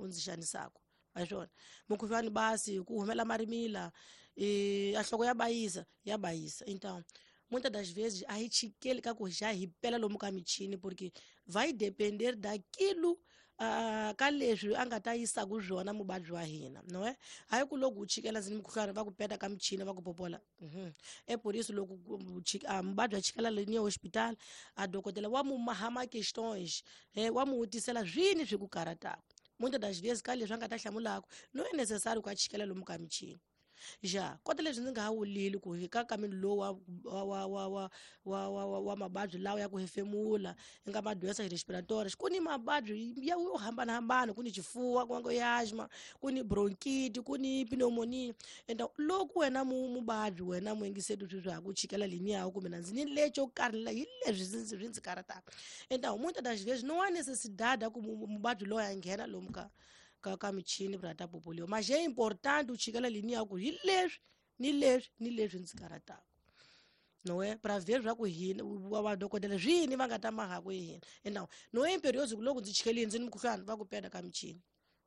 ndzi xanisaka a swona mukhuhlwani basi ku humela marimila e a nhloko ya bayisa ya bayisa. Então muitas das vezes a hi chikeli ka ku ja hi pela lomu ka michini porque vai depender daquilo Uh, ka leswi a nga ta yisaka swona muvabyi wa hina no e hayi ku loko u chikela ndzi ni mukhuhlwani va ku peta ka michini va ku popola mhm e por isso loko muvabyi a chikela leniya hospital a dokodela wa mu maha ma questões eh wa mu vutisela swini swi ku karhataka muitas das vezes ka leswi a nga ta hlamulaka no é necessário ku a chikela lomu ka michini ja kota leswi ndzi nga ha wulili ku hi ka kameni lowu wa wa wa wa wa wa wa mavabyi lawa ya ku hefemula i nga madoença respiratórias ku ni mavabyi ya yo hambanahambana ku ni xifuwa ku nga asma ku ni bronchite ku ni pneumonia. Então loko wena mu muvabyi wena muyingiseti swi swa ku chikela leniya kumbe na ndzi ni lexo karhi la hi leswi swi ndzi karhataka. Então muitas das vezes não há necessidade ku muvabyi loyi a nghena lomu ka ka ka michini pra ta popoliwa mas é importante u chikela leniya ku hi leswi ni leswi ni leswi ndzi karhataka não é para ver swa ku hina va dokodela swini va nga ta mahaku hi hina. Então não é imperioso ku loko ndzi chikelile ndzi ni mukhuhlwani va ku peta ka michini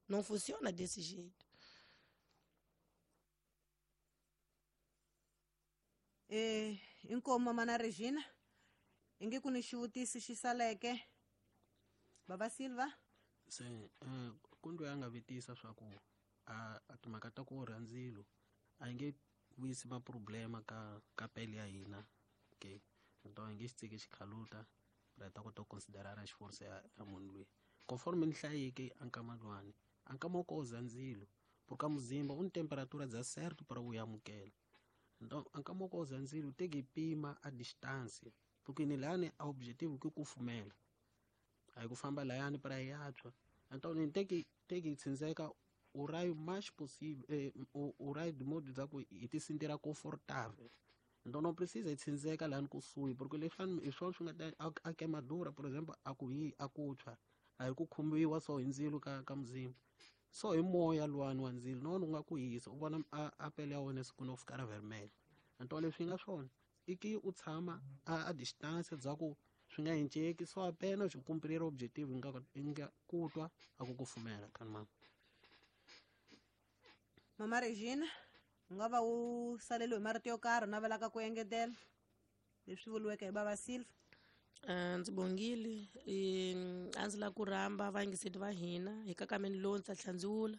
não funciona desse jeito. Eh inkomo mana Regina inge ku ni xivutiso xi saleke baba Silva se eh kundu ya nga vitisa swa ku a a timhaka ta ku orha ndzilo a yi nge vuyisi ma-problema ka ka pele ya hina okay então hi nge xi tsiki xikhaluta ra ta kota ku considerara xiforce ya, ya munhu loyi conforme ni hlayeke a nkama luwani a nkama wo koza ndzilo porque muzimba u ni temperatura dza certo para u amukela então a nkama wo koza ndzilo te ki pima a distância porque ni lani a objetivo ke ku fumela a hi ku famba layani para hi ya tshwa. Então ni teki teki tsindzeka o raio mais possível eh, o, o raio de modo dza ku hi ti sentira confortável. Então não precisa hi tsindzeka lani kusuhi porque leswi hi swona swi nga ta a queimadura por exemplo a ku hi a ku tshwa a hi ku khumbiwa so hi ndzilo ka ka muzimba so hi moya luwani wa ndzilo na wona u nga ku hisa u vona a, a pele ya wena siku no ficar vermelho. Então leswi nga swona i ki u tshama a, a distância dza ku swi nga hinceki so apenas cumprir o objetivo nga nga ku twa a ku kufumela kan mama. Mama Regina u nga va u saleliwe hi marito yo karhi u navelaka ku engetela leswi vuriweke hi baba Silva? Uh, ndzi bongile a ndzi lava ku rhamba vayingiseti va hina hi kakameni lowu ndzi ta hlandziwula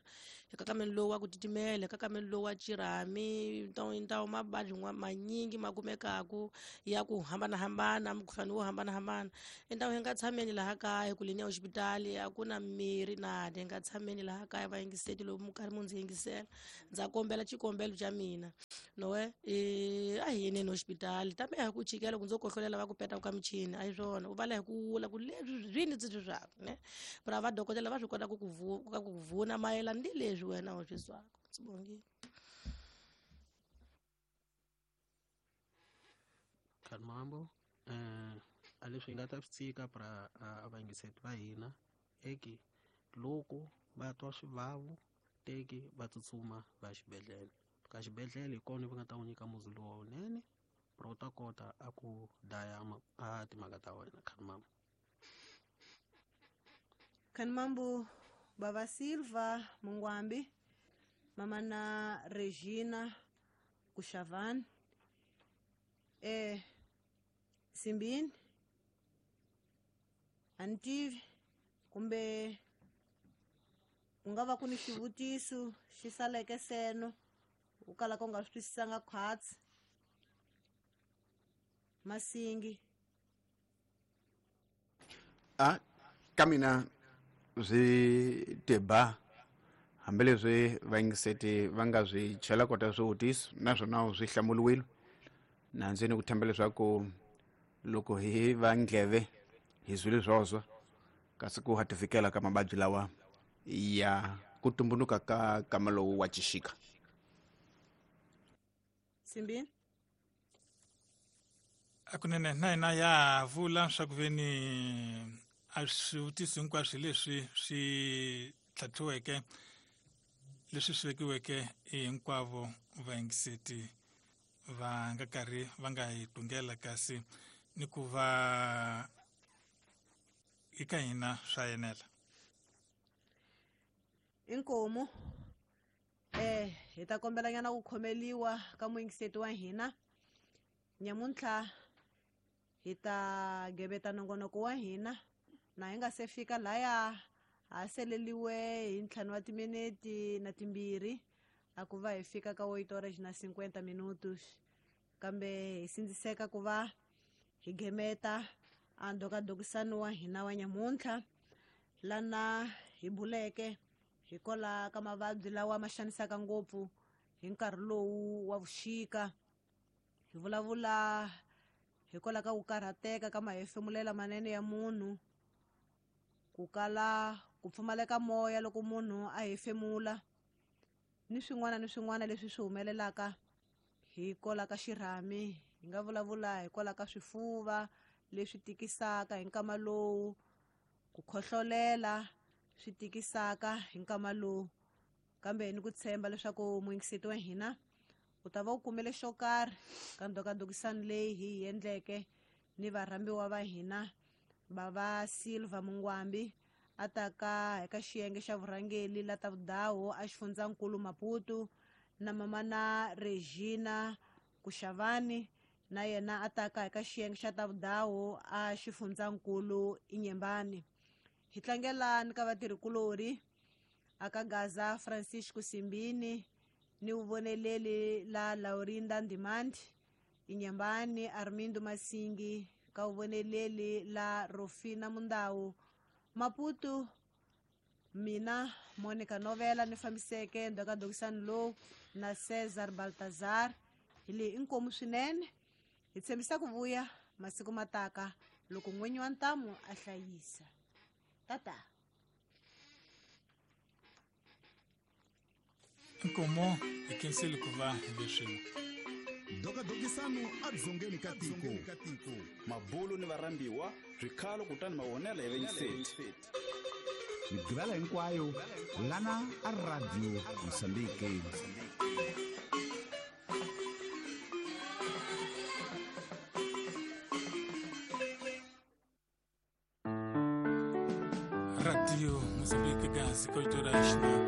hi kakameni lowu wa ku titimela hi kakameni lowu wa chirhami ntawu mavabyi manyingi ma kumekaku ya ku hambanahambana mukhuhlwani wo hambanahambana i ndawu hi nga tshameni laha kaya ku leni ya hoxipitali a ku na mirhi nada hi nga tshameni laha kaya vayingiseti loko mu karhi mu ndzi yingisela ndza kombela xikombelo xa mina nowe a hi yeneni hoxipitali tambe a hi ku chikela ku ndzo kohlolela va ku peta ka michini a hi swona u vala hi ku wula ku leswi swini ndzi swi swaku ne pra va dokodela va swi kota ku ku ku vuna mayelana ni leswi wena u swi zwaka. Ndzi bongile. Khanmambo eh a leswi hi nga ta swi tshika pra a vayingiseti va hina eki loko va twa swivavu teki va tsutsuma va xibedhlele ka xibedhlele hi kona va nga ta n'wi nyika muzi lowu wunene pra u ta kota a ku daya a timhaka ta wena. Khanmambo. Khanmambo Baba Silva Mungwambi, mama na Regina Kushavan, eh Simbini Antivi kumbe ku nga va ku ni xivutiso xi saleke seno u kala ku nga swi twisisanga khwatsi Masingi. A ka mina swi teba hambileswi vayingiseti va nga swi chela kota swivutiso naswona swi hlamuriwile na ndzi ni ku themba leswaku loko hi va ndleve hi zwile swoswo kasi ku hatifikela ka mavabyi lawa ya ku tumbunuka ka kama lowu wa xixika. Simbini. Akunene na hina ya vula swa ku veni a swivutiso hinkwaswo leswi swi tlhatlhiweke leswi swi vekiweke hinkwavo vayingiseti va nga karhi va nga hi tungela kasi ni ku va eka hina swa enela. Inkomu eh hi ta kombelanyana ku khomeliwa ka muyingiseti wa hina nyamuntlha hi ta gebeta nongonoko wa hina na hi nga se fika laya ha seleliwe hi ntlhanu wa timinete na timbirhi a ku va hi fika ka oito horas na cinquenta minutos kambe hi sindziseka ku va hi gemeta a ndokadokisano wa hina wa nyamuntlha lana hi buleke hikola ka mavabyi lawa ma xanisaka ngopfu hi nkarhi lowu wa vuxika hi vulavula hikola ka ku karhateka ka mahefemulela manene ya munhu ku kala ku pfumaleka moya loko munhu a hefemula ni swin'wana ni swin'wana leswi swi humelelaka hikola ka xirhami hi nga vulavula hikola ka swifuva leswi tikisaka hi nkama lowu ku khohlolela swi tikisaka hi nkama lowu kambe ni ku tshemba leswaku muyingiseti wa hina u ta va u kumele xo karhi ka ndokadokisano leyi hi yi endleke ni varhambiwa va hina Baba Silva Mungwambi a ta ka eka xiyenge xa vurhangeli la ta vudawu a xifundzankulu Maputo na mama na Regina Kushavani na yena a ta ka eka xiyenge xa ta vudawu a xifundzankulu Inyembani. Hi tlangela ni ka vatirhikulori aka Gaza Francisco Simbini ni vuvoneleli la Laurinda Ndimandi Inyembani Armindo Masingi ka vuvoneleli la Rofina Mundawu Maputo mina Monica Novela ni fambiseke ndokadokisano lowu na Cesar Baltazar hi leyi inkomu swinene hi tshembisa ku vuya masiku mataka loko n'winyi wa ntamu a hlayisa. Tata. Inkomo hi khensile ku va hi leswi Dokadokisano a dzongeni ka tiko mabulu ni varhambiwa swikhalo kutani mavonelo ya vayingiseti migqivela hinkwayo lana a Radio Mozambique. Radio Mozambique kasi oito horas na